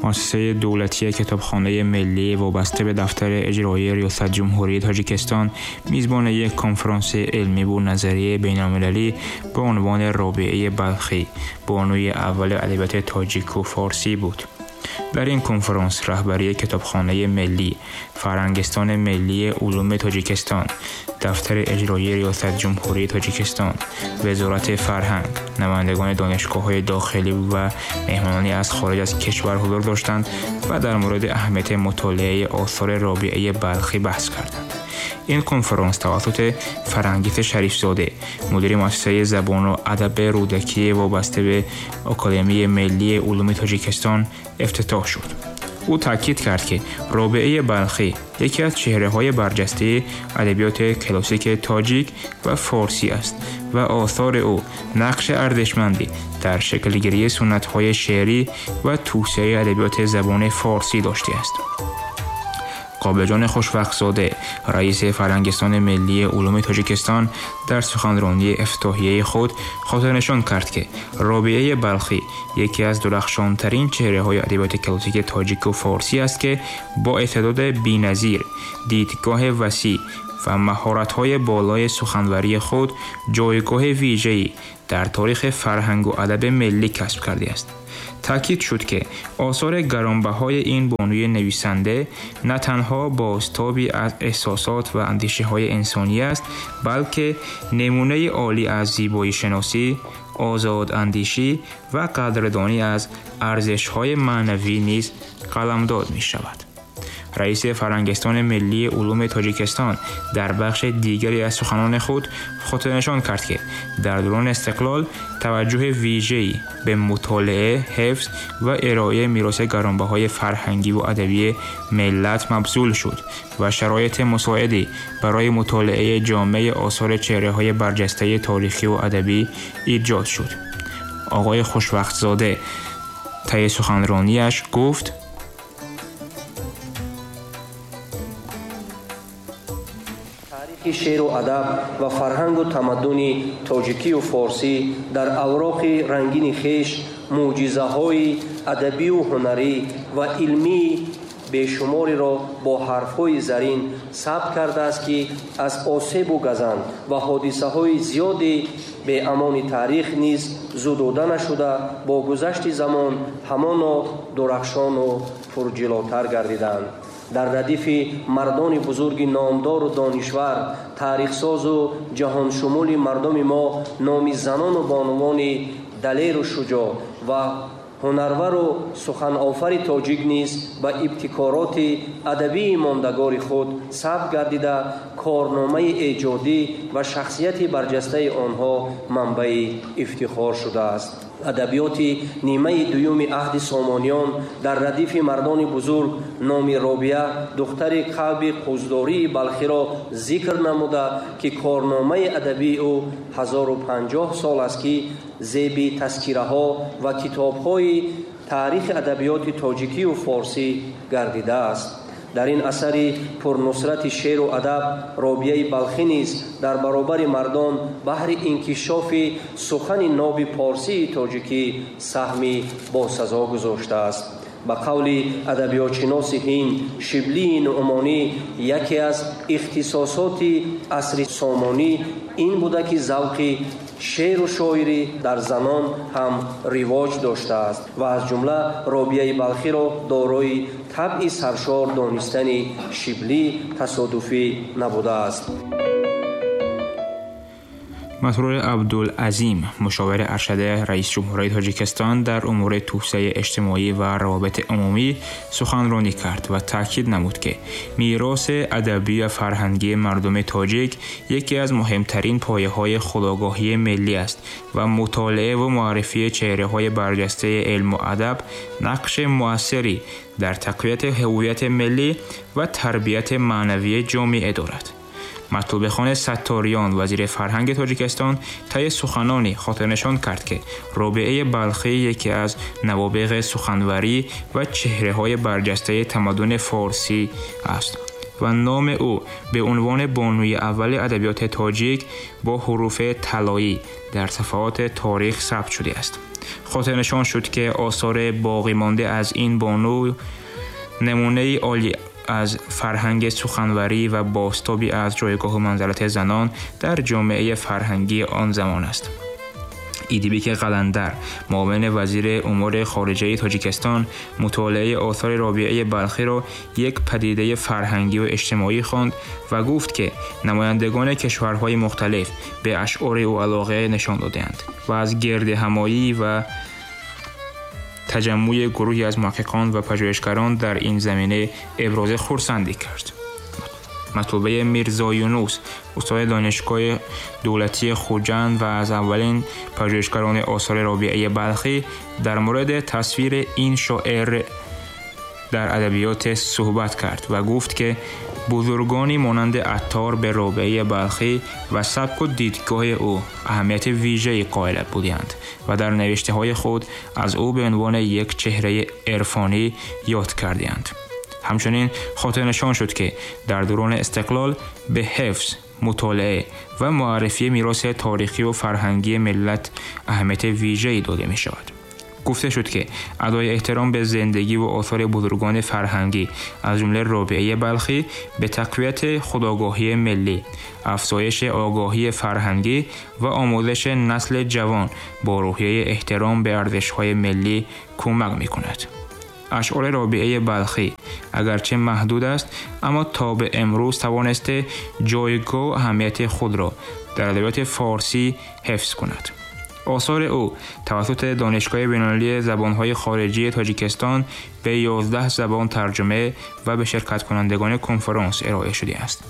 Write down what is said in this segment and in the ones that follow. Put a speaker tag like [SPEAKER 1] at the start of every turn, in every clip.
[SPEAKER 1] Муассисаи давлатии китобхонаи миллӣ вобаста ба дафтари иҷроии Риёсати Ҷумҳурии Тоҷикистон мизбони як конфронси илмӣ ва назарии байналмилалӣ ба унвони Робиаи Балхӣ, бонуи аввали адабиёти тоҷику форсӣ буд. Дар ин конфронс раҳбарии Китобхонаи миллӣ, Фарҳангистони миллии улуми Тоҷикистон, дафтари иҷроии Риёсати Ҷумҳурии Тоҷикистон, Вазорати фарҳанг, намояндагони донишгоҳҳои дохилӣ ва меҳмонони аз хориҷ аз кишвар ҳузур доштанд ва дар мавриди аҳамияти мутолиаи осори Робиаи Балхӣ баҳс карданд. Ин конфронс тавассути Фарангис Шарифзода, мудири муассисаи забону адаби Рӯдакӣ вобаста ба Академияи миллии улуми Тоҷикистон ифтитоҳ шуд. Ӯ таъкид кард, ки Робиаи Балхӣ яке аз чеҳраҳои барҷастаи адабиёти классики тоҷик ва форсӣ аст ва осори ӯ нақши арзишманде дар шаклгирии суннатҳои шеърӣ ва тавсеаи адабиёти забони форсӣ доштааст. Қобилҷон Хушвақтзода, раиси Фарҳангистони миллии улуми Тоҷикистон, дар суханронии ифтитоҳияи худ хотирнишон кард, ки Робиаи Балхӣ яке аз дурахшонтарин чеҳраҳои адабиёти классики тоҷику форсӣ аст, ки бо истеъдоди беназир, дидгоҳи васеъ ва маҳоратҳои болои суханварии худ ҷойгоҳи вижае дар таърихи фарҳангу адаби миллӣ касб кардааст. Таъкид шуд, ки осори гаронбаҳои ин бонуи нависанда на танҳо бозтоби аз эҳсосот ва андешаҳои инсонӣ аст, балки намунаи олӣ аз зебоишиносӣ, озодандешӣ ва қадрдонӣ аз арзишҳои маънавӣ низ қаламдод мешавад. Раиси Фарҳангистони миллии улуми Тоҷикистон дар бахши дигаре аз суханони худ хотирнишон кард, ки дар давраи истиқлол таваҷҷӯҳи вижае ба мутолиа, ҳифз ва ироаи мероси гаронбаҳои фарҳангӣ ва адабии миллат мабзул шуд ва шароити мусоиде барои мутолиаи ҷомеи осори чеҳраҳои барҷастаи таърихӣ ва адабӣ эҷод шуд. Оқои Хушвақтзода таи суханронияш гуфт:
[SPEAKER 2] шеъру адаб ва фарҳангу тамаддуни тоҷикию форсӣ дар авроқи рангини хеш мӯъҷизаҳои адабию ҳунарӣ ва илмии бешумореро бо ҳарфҳои зарин сабт кардааст, ки аз осебу газанд ва ҳодисаҳои зиёди беамони таърих низ зудода нашуда, бо гузашти замон ҳамоно дурахшону пурҷилотар гардиданд. Дар радифи мардони бузурги номдору донишвар, таърихсозу ҷаҳоншумули мардуми мо номи занону бонувони далеру шуҷоъ ва ҳунарвару суханофари тоҷик низ ба ибтикороти адабии мондагори худ сабт гардида, корномаи эҷодӣ ва шахсияти барҷастаи онҳо манбаи ифтихор шудааст. Адабиёти нимаи дуюми аҳди Сомониён дар радифи мардони бузург номи Робиа, духтари Каъби Қуздории Балхиро зикр намуда, ки корномаи адабии ӯ 1050 сол аст, ки зеби тазкираҳо ва китобҳои таърихи адабиёти тоҷикию форсӣ гардидааст. Дар ин асари пурнусрати шеъру адаб Робиаи Балхӣ низ дар баробари мардон баҳри инкишофи сухани ноби порсии тоҷикӣ саҳми босазо гузоштааст. Ба қавли адабиётшиноси ҳинд Шиблии Нуъмонӣ, яке аз ихтисосоти асри Сомонӣ ин буда, ки завқи шеъру шоирӣ дар занон ҳам ривоҷ доштааст ва аз ҷумла Робиаи Балхиро дорои табъи саршор донистани Шиблӣ тасодуфӣ набудааст.
[SPEAKER 1] Масрур Абдулазим, мушовири аршади раиси Ҷумҳурии Тоҷикистон дар умури тавсеаи иҷтимоӣ ва равобити умумӣ суханронӣ кард ва таъкид намуд, ки мероси адабӣ ва фарҳангии мардуми тоҷик яке аз муҳимтарин пояҳои худогоҳии миллӣ аст ва мутолиа ва муаррифии чеҳраҳои барҷастаи илму адаб нақши муассире дар тақвияти ҳувияти миллӣ ва тарбияти маънавии ҷомеа дорад. Матлубихон Сатториён, вазири фарҳанги Тоҷикистон, таи суханони хотирнишон кард, ки Робиаи Балхӣ яке аз навобиғи суханварӣ ва чеҳраҳои барҷастаи тамаддуни форсӣ аст ва номи ӯ ба унвони бонуи аввали адабиёти тоҷик бо ҳуруфи талоӣ дар сафҳаоти таърих сабт шудааст. خاطرنشان شد که آثار باقی مانده از این بانو نمونه عالی از فرهنگ سخنوری و بازتابی از جایگاه و منزلت زنان در جامعه فرهنگی آن زمان است. ایدیبیک قلندر، معاون وزیر امور خارجه تاجیکستان، مطالعه آثار رابعه بلخی را یک پدیده فرهنگی و اجتماعی خواند و گفت که نمایندگان کشورهای مختلف به اشعار او علاقه نشان دادند و از گرد همایی و تجمع گروهی از محققان و پژوهشگران در این زمینه ابراز خرسندی کرد. مطلوبه میرزا یونس، استاد دانشگاه دولتی خوجند و از اولین پژوهشگران آثار رابعه بلخی، در مورد تصویر این شاعر در ادبیات صحبت کرد و گفت که بزرگانی مانند عطار به رابعه بلخی و سبک و دیدگاه او اهمیت ویژه‌ای قائل بودند و در نوشته‌های خود از او به عنوان یک چهره عرفانی یاد کردند. همچنین خاطرنشان شد که در دوران استقلال به حفظ، مطالعه و معرفی میراث تاریخی و فرهنگی ملت اهمیت ویژه‌ای داده می‌شود. گفته شد که ادای احترام به زندگی و آثار بزرگان فرهنگی از جمله رابعه بلخی به تقویت خودآگاهی ملی، افزایش آگاهی فرهنگی و آموزش نسل جوان با روحیه احترام به ارزش‌های ملی کمک می‌کند. اشعار رابعه بلخی اگرچه محدود است، اما تا به امروز توانسته جایگاه و اهمیت خود را در ادبیات فارسی حفظ کند. آثار او توسط دانشگاه بین‌المللی زبان‌های خارجی تاجیکستان به 11 زبان ترجمه و به شرکت کنندگان کنفرانس ارائه شده است.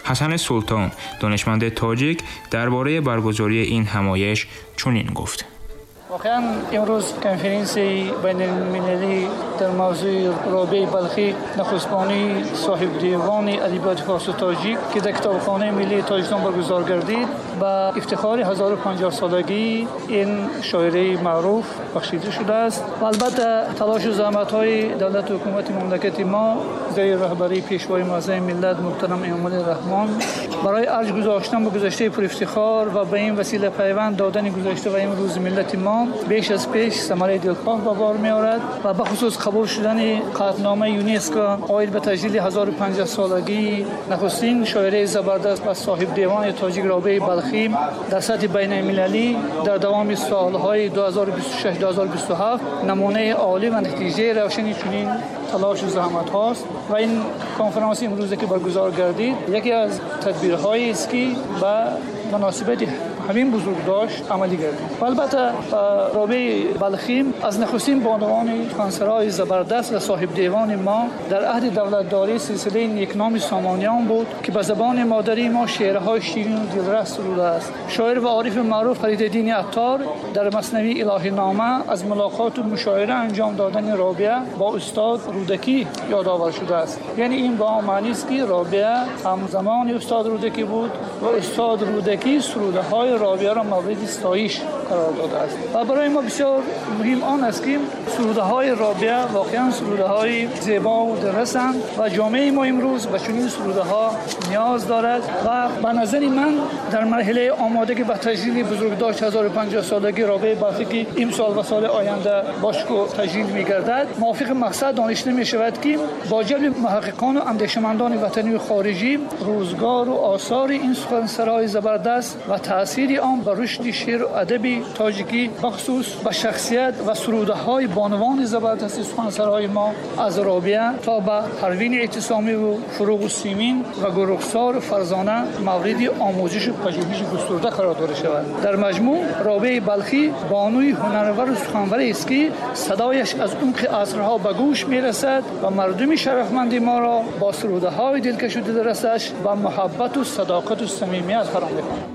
[SPEAKER 1] حسن سلطان، دانشمند تاجیک، درباره برگزاری این همایش چنین گفت:
[SPEAKER 3] واقعا امروز کنفرانس بین المللی در موضوع رابعه بلخی، نخستبانی صاحب دیوان ادبیات فارس و تاجیک که در کتابخانه ملی تاجیکستان برگزار گردید، به افتخار 1050 سالگی این شاعره معروف بخشیده شده است. و البته تلاش و زحمت‌های دولت و حکومت مملکت ما زیر رهبری پیشوای معظم ملت محترم امامعلی رحمان برای ارج گذاشتن به گذشته پر افتخار و به این وسیله پیوند دادن گذشته و امروز ملت ما بیش از پیش ثمره دلخواه به بار می‌آورد و به خصوص قبول شدن قطعنامه یونسکو عاید به تجلیل 1050 سالگی نخستین شاعره زبردست و صاحب دیوان تاجیک رابعه بلخی در سطح بین المللی در دوام سالهای 2026-2027 نمونه عالی و نتیجه روشنی چنین تلاش و زحمت هاست. و این کنفرانس امروزه که برگزار گردید یکی از تدبیرهایی است که به مناسبت همین بزرگداشت عملی گردید. البته رابعه بلخی از نخستین بانوان سخنسرای زبردست و صاحب دیوان ما در عهد دولتداری سلسله نیکنام سامانیان بود که به زبان مادری ما شعرهای شیرین و دلرس سروده است. شاعر و عارف معروف فریدالدین عطار در مثنوی الهی نامه از ملاقات و مشاعره انجام دادن رابعه با استاد رودکی یادآور شده است. یعنی این با معنی است که رابعه همزمان استاد رودکی بود و استاد رودکی سروده های رابعه را مورد ستایش قرار داده است. و برای ما بسیار مهم آن است که سروده های رابعه واقعا سروده های زیبا و درسند و جامعه ما امروز به چنین سروده ها نیاز دارد. و به نظر من در مرحله آمادگی به تجلیل بزرگداشت 1050 سالگی رابعه بلخی که امسال و سال آینده باشکوه تجلیل می‌گردد، موافق مقصد دانسته می‌شود که با جلب محققان و اندیشمندان وطنی و خارجی روزگار و آثار این سخنسرای زبردست و تاثیر آن بر رشد شعر و ادب تاجیکی بخصوص به شخصیت و سروده های بانوان زبردست سخنسرای ما از رابعه تا به پروین اعتصامی و فروغ سیمین و گرخسار فرزانه مورد آموزش و پژوهش گسترده قرار داده شود. در مجموع رابعه بلخی بانوی هنرور و سخنور است که صدایش از عمق عصرها به گوش میرسد و مردم شرفمند ما را با سروده های دلکش و دلرسش و محبت و صداقت و صمیمیت فرا می‌خواند.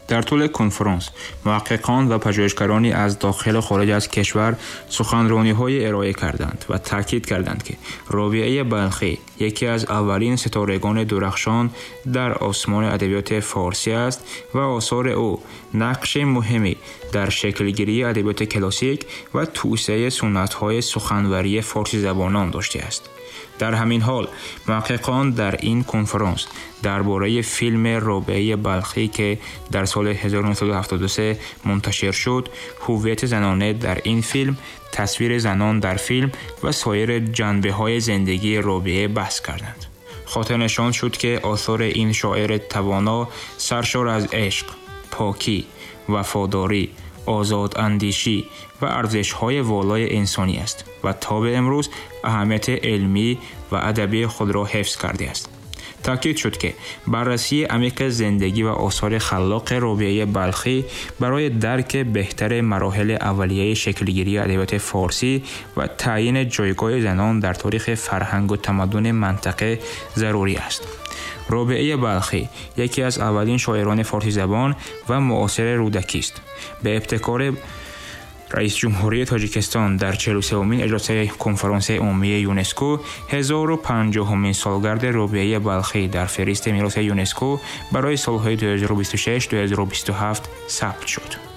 [SPEAKER 1] در طول کنفرانس محققان و پژوهشگرانی از داخل و خارج از کشور سخنرانی‌های ارائه کردند و تاکید کردند که رابعه بلخی یکی از اولین ستارگان درخشان در آسمان ادبیات فارسی است و آثار او نقش مهمی در شکل‌گیری ادبیات کلاسیک و توسعه سنت‌های سخنوری فارسی زبانان داشته است. در همین حال محققان در این کنفرانس درباره فیلم رابعه بلخی که در سال 1973 منتشر شد، هویت زنانه در این فیلم، تصویر زنان در فیلم و سایر جنبه‌های زندگی رابعه بحث کردند. خاطر نشان شد که آثار این شاعر توانا سرشار از عشق، پاکی، وفاداری، آزاد اندیشی و ارزش‌های والای انسانی است و تا به امروز اهمیت علمی و ادبی خود را حفظ کرده است. تاکید شد که بررسی عمیق زندگی و آثار خلاق رابعه بلخی برای درک بهتر مراحل اولیه شکلگیری ادبیات فارسی و تعیین جایگاه زنان در تاریخ فرهنگ و تمدن منطقه ضروری است. رابعه بلخی یکی از اولین شاعران فارسی زبان و معاصر رودکی است. به ابتکار رئیس جمهوری تاجیکستان در 43مین اجلاس کنفرانس عمومی یونسکو 1050مین سالگرد رابعه بلخی در فهرست میراث یونسکو برای سالهای 2026-2027 ثبت شد.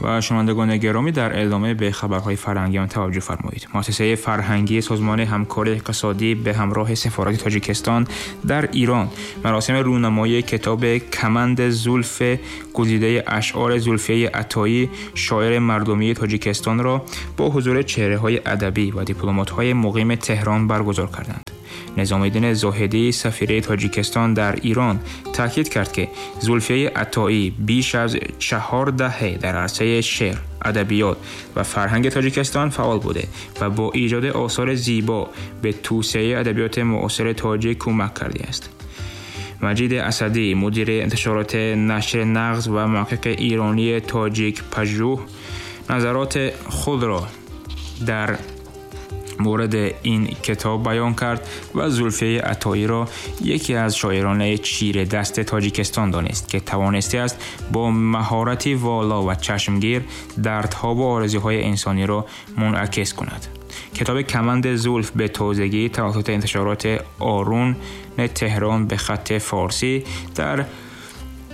[SPEAKER 1] و شنوندگان گرامی، در ادامه به خبرهای فرهنگی آن توجه فرمایید. مؤسسه فرهنگی سازمان همکاری اقتصادی به همراه سفارت تاجیکستان در ایران مراسم رونمایی کتاب کمند زلف گزیده اشعار زلفیه عطایی شاعر مردمی تاجیکستان را با حضور چهره‌های ادبی و دیپلمات‌های مقیم تهران برگزار کردند. نظام‌الدین زاهدی سفیر تاجیکستان در ایران تاکید کرد که زلفیه عطایی بیش از 4 دهه در عرصه شعر، ادبیات و فرهنگ تاجیکستان فعال بوده و با ایجاد آثار زیبا به توسعه ادبیات معاصر تاجیک کمک کرده است. مجید اسدی، مدیر انتشارات نشر نغز و محقق ایرانی تاجیک پژوه، نظرات خود را در مورد این کتاب بیان کرد و زلفیه عطایی را یکی از شاعران چیره دست تاجیکستان دانست که توانسته است با مهارتی والا و چشمگیر دردها و آرزوهای انسانی را منعکس کند. کتاب کمند زلف به تازگی توسط انتشارات آرون تهران به خط فارسی در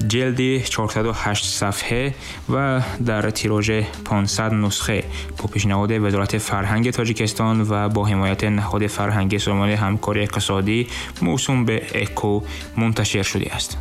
[SPEAKER 1] جلد 408 صفحه و در تیراژ 500 نسخه با پیشنهاد وزارت فرهنگ تاجیکستان و با حمایت نهاد فرهنگی سازمان همکاری اقتصادی موسوم به اکو منتشر شده است.